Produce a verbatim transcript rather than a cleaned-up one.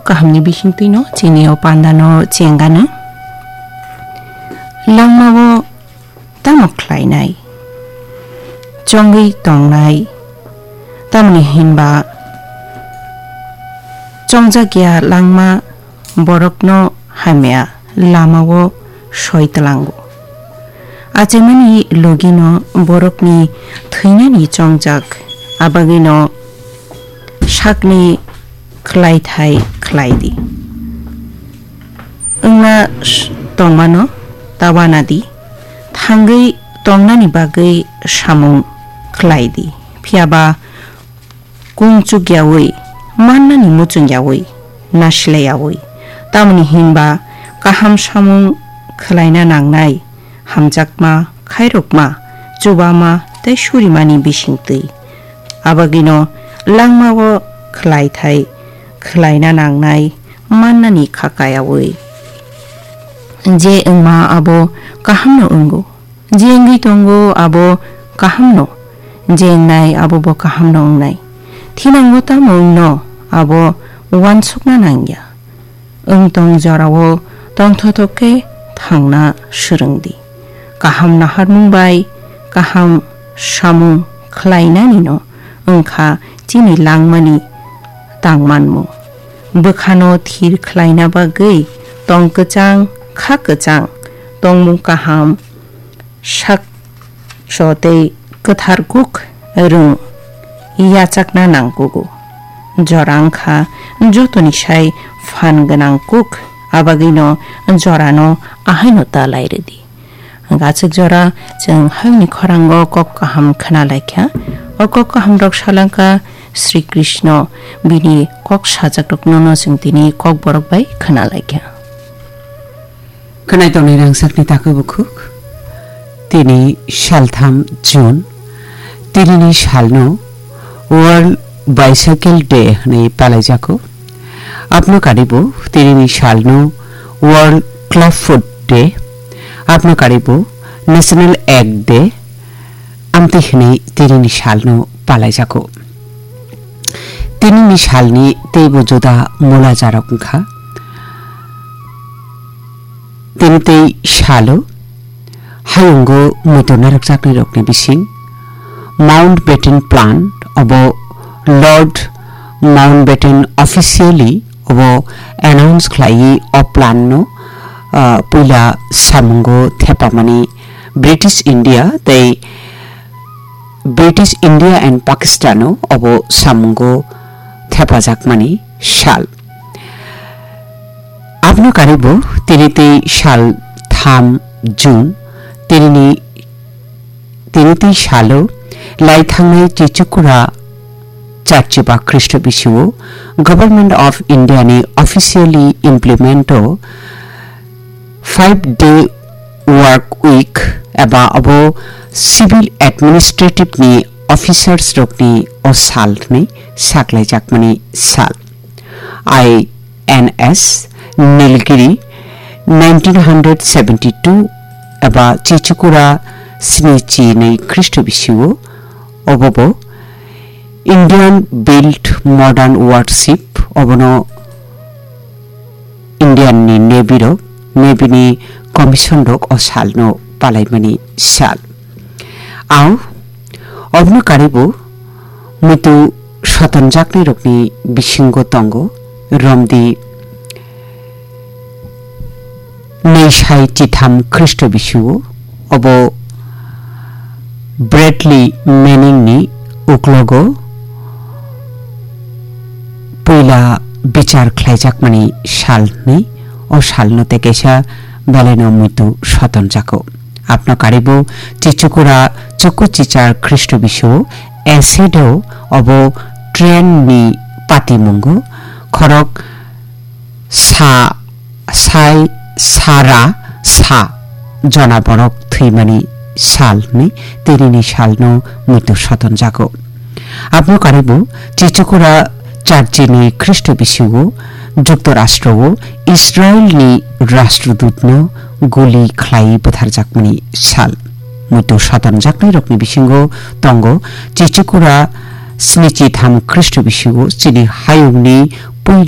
kahamni bisingtwino chini o pandano chengano. Langmao tamo khlainai? Chongwi tongnai? Tamni hinba chongjak ya langma borokno hamya lamao soi tlango. Achaimani logino borokni thwinani chongjak, abagwino sakni khlaithai khlai di. Wngna s-, tongmano ta wana di, thangwi tongnani bagwi samung khlai di, phiya ba kung chukyawi, mannani muchungyawi, nasilaiyawi. Tamoni hinba kaham samung khlaina nangnai, hamjakma, khairokma, chubama tei surimani bisingtwi. Abagwino langmao khlaithai khlaina nangnai mannani kha kayawi. Je wngma abo kahamno wngo, je wngwi tongo abo kahamno, je wngnai abo bo kahamno wngnai. Thinango tamo wngno abo uansukna nangya. Wng tong jorao tongthothok khe thangna swrwng di. Kaham naharmung bai kaham samung khlainanino wngkha chini langmani tangmanmung. Bwkhano thir khlaina bagwi tong kwchang, kha kwchang, tongmung kaham, sak so tei kwthar kuk rwng yachakna nangkugo. Jora wngkha jotoni sai phan gwnang kuk, abagwino jorano ahaino ta lai rwdi. Gachik jora chwng hayungni khorango kok kaham khna laikha. O kok kahamrok salangkha Sri Krishna, bini kok sajakrokno no chwng tini kokborok bai khna laikha. Khwnai tongnai rangchakni takhuk bukhuk. Tini saltham June, tinini salno World Bicycle Day hwnwi palaijago. Aboni karibo tinini salno World Clubfoot Day, aboni karibo National Egg Day, amtwi hwnwi tinini salno palaijago. Tinini salni teibo juda mulajarok wngkha. Tini tei salo hayungo muitu narwkjaknairokni bising Mountbatten Plan obo Lord Mountbatten officially obo announce khlaiwi o plan no, ah, puila samungo thepamani British India tei British India and Pakistano obo samungo thepajakmani sal. Aboni karibo tini tei sal tham June, tinini, tini tei salo lai thangnai Chichukura Charchiba Khristo bisio Government of India ni officially implement o five day work week eba abo civil administrative ni officers rokni o sal hwnwi saklaijakmani sal. I N S Nilgiri nineteen hundred seventy two eba Chichukura sni chinwi Khristo bisio obobo Indian built modern warship obono Indian ni Navy rok, Navy ni commission rok o sal no palaimani sal. Ao, obno karibo muitu sotonjaknai rokni bisingo tongo romdi Naisai chitham Khristo bisio obo Bradley Manning ni uklogo puila bichar khlaijakmani sal hwnwi o salno tei kaisa belaino muitu sotonjago. Abno karibo Chichukura Choku Chichar Khristo bisio acid o obo train ni patimungo khorok sa, sai, sara, sa jona borok thwimani sal hwnwi tinini salno muitu sotonjago. Aboni karibo Chichukura Charchini Khristo bisio Juktorashtro-o Israelni Rashtrodutno guli khlai butharjakmani sal. Muitu sotonjaknairokni bisingo tongo Chichukura snichi tham Khristo bisio chini hayungni puila